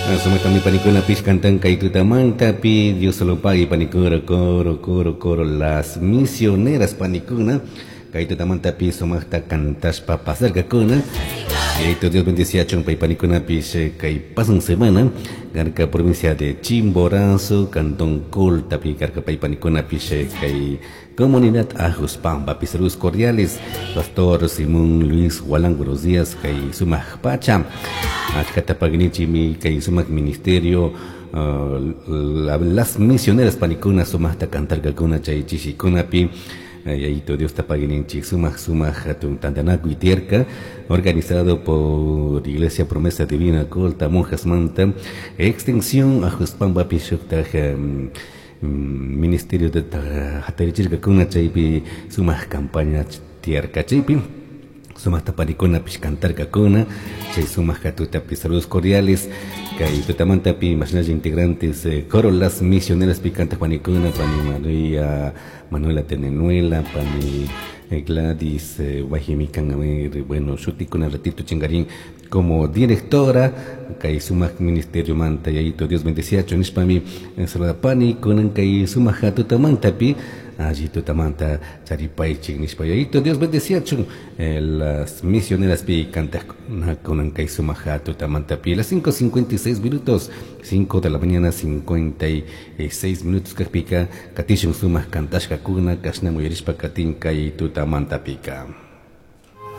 Sumaktami panikunapish cantan kay tutamantapi Dios lo pague panikuna coro coro coro las misioneras panikuna kay tutamantapi sumakta cantashpa pasarkakuna. Yayaito Dios bendeciachun pay panikunapish kay pasan semana karka provincia de Chimborazo cantón Coltapi karka pay panikunapish kay comunidad Ajuspampa. Saludos cordiales, Pastor Simón Luis Gualán, buenos días, kay sumak pacha achkata pagnichimi kay sumak ministerio las misioneras panikuna sumakta cantarkakuna chay chishikunapi. Yayaito Dios tapaguininchik sumak sumak hatun tantanakuy tiyarka organizado por Iglesia Promesa Divina Colta Monjas Manta extensión Ajuspampa shuktaj ministerio de hatarichirkakuna chaypi sumak campaña tiyarka chaypi sumakta panikunapish cantarkakuna chay sumak hatutapi. Saludos cordiales kay tutamantapi mashnalla integrantes coro las misioneras pi cantak panikuna pani María Manuela Tenenuela pani Gladys Guajimican, a ver, bueno, shutikuna ratito chingarín como directora kay sumak ministerio manta. Yayaito Dios bendeciacho nishpami saluda pani kunan kay sumak tutamantapi allí tutamanta charipaychik nishpa. Yayaito Dios bendeciachun las misioneras pi cantak kunan kay sumak tutamantapi. Las 5:56 minutos, 5 de la mañana 56 minutos kakpika katishun sumak kantashkakuna kashna muyarishpa katin kay tutamantapika.